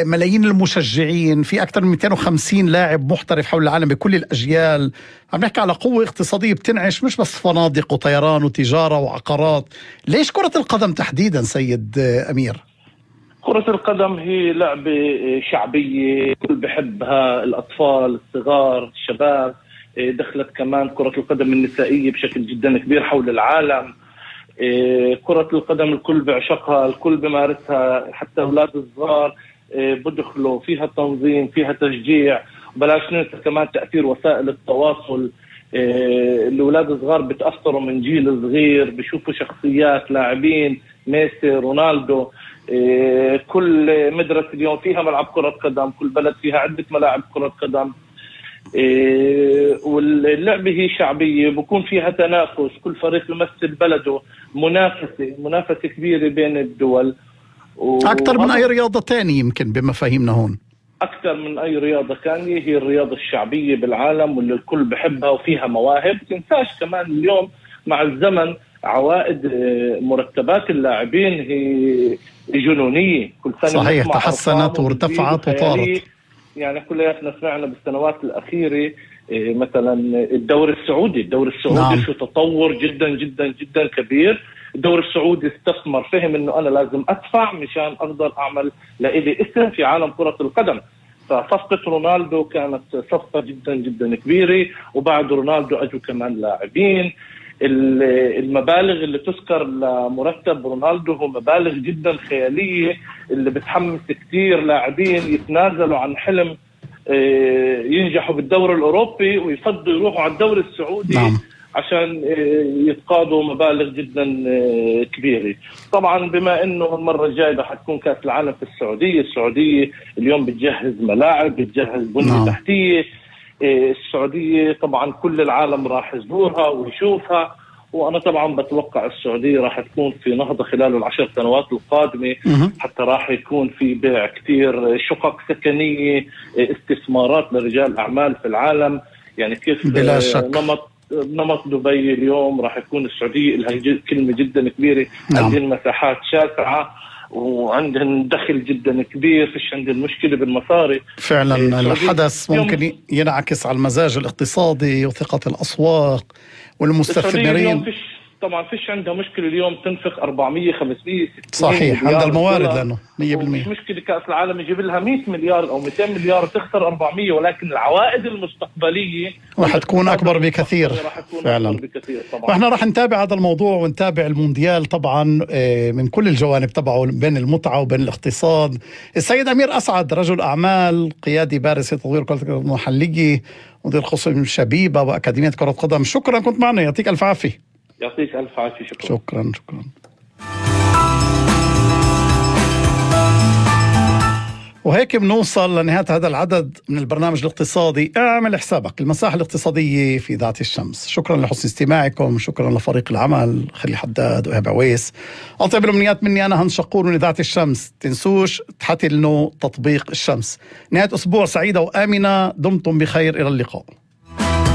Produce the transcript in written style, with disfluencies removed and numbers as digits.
ملايين المشجعين، في أكثر من 250 لاعب محترف حول العالم بكل الأجيال. عم نحكي على قوة اقتصادية بتنعش مش بس فنادق وطيران وتجارة وعقارات. ليش كرة القدم تحديدا سيد أمير؟ كرة القدم هي لعبة شعبية كل بحبها، الأطفال، الصغار، الشباب. دخلت كمان كرة القدم النسائية بشكل جدا كبير حول العالم. كرة القدم الكل بيعشقها، الكل بمارسها، حتى أولاد الصغار بدخلوا فيها، تنظيم فيها، تشجيع. بلاش ننسى كمان تأثير وسائل التواصل. الأولاد الصغار بتأثروا من جيل صغير، بيشوفوا شخصيات لاعبين ميسي، رونالدو. كل مدرسة اليوم فيها ملعب كرة قدم، كل بلد فيها عدة ملاعب كرة قدم. واللعبة هي شعبية، بكون فيها تنافس، كل فريق يمثل بلده، منافسة كبيرة بين الدول. أكثر من أي رياضة تانية يمكن بمفاهيمنا هون. أكثر من أي رياضة ثانية، هي الرياضة الشعبية بالعالم واللي الكل بحبها وفيها مواهب. تنساش كمان اليوم مع الزمن عوائد مرتبات اللاعبين هي جنونية، كل سنة صحيح، تحسنت وارتفعت وطارت. يعني كلنا سمعنا بالسنوات الأخيرة مثلا الدوري السعودي نعم. شو تطور جدا جدا جدا كبير. الدوري السعودي استثمر، فهم انه انا لازم ادفع مشان اقدر اعمل لإلي اسم في عالم كرة القدم. فصفقة رونالدو كانت صفقة جدا جدا كبيرة، وبعد رونالدو اجوا كمان لاعبين. المبالغ اللي تذكر لمرتب رونالدو هو مبالغ جدا خيالية، اللي بتحمس كتير لاعبين يتنازلوا عن حلم ينجحوا بالدوري الأوروبي ويفضلوا يروحوا على الدوري السعودي نعم. عشان يتقاضوا مبالغ جدا كبيرة. طبعا بما انه المرة الجاية حتكون كأس العالم في السعودية اليوم بتجهز ملاعب، بتجهز بنية تحتية. السعودية طبعا كل العالم راح يزورها ويشوفها، وانا طبعا بتوقع السعودية راح تكون في نهضة خلال ال10 سنوات القادمة. حتى راح يكون في بيع كتير شقق سكنية، استثمارات لرجال اعمال في العالم. يعني كيف بلا شك. نمط دبي اليوم راح يكون السعودية لها كلمة جدا كبيرة. نعم. عندهم مساحات شاسعة وعندهم دخل جدا كبير، فيش عندهم مشكلة بالمصاري. فعلا الحدث ممكن ينعكس على المزاج الاقتصادي وثقة الأسواق والمستثمرين. طبعا فيش عندها مشكلة اليوم تنفق 400 500 صحيح، عندها الموارد لأنه 100%. مش مشكلة كأس العالم يجيب لها 100 مليار أو 200 مليار تخسر 400، ولكن العوائد المستقبلية راح تكون أكبر بكثير. فعلا وإحنا راح نتابع هذا الموضوع ونتابع المونديال طبعا من كل الجوانب تبعه، بين المتعة وبين الاقتصاد. السيد أمير أسعد رجل أعمال، قيادي بارز لتطوير كرة القدم المحلية، مدير قسم شبيبة وأكاديمية كرة قدم. شكرا كنت معنا، يعطيك ألف عافية. يعطيك ألف عافية. شكرا. وهيك بنوصل لنهاية هذا العدد من البرنامج الاقتصادي. اعمل حسابك المساحة الاقتصادية في ذات الشمس. شكرا لحسن استماعكم، شكرا لفريق العمل خلي حداد وإيهاب عويس. أطيب الأمنيات مني أنا هن شقور من ذات الشمس. تنسوش تحتلنوا تطبيق الشمس. نهاية أسبوع سعيدة وآمنة، دمتم بخير، إلى اللقاء.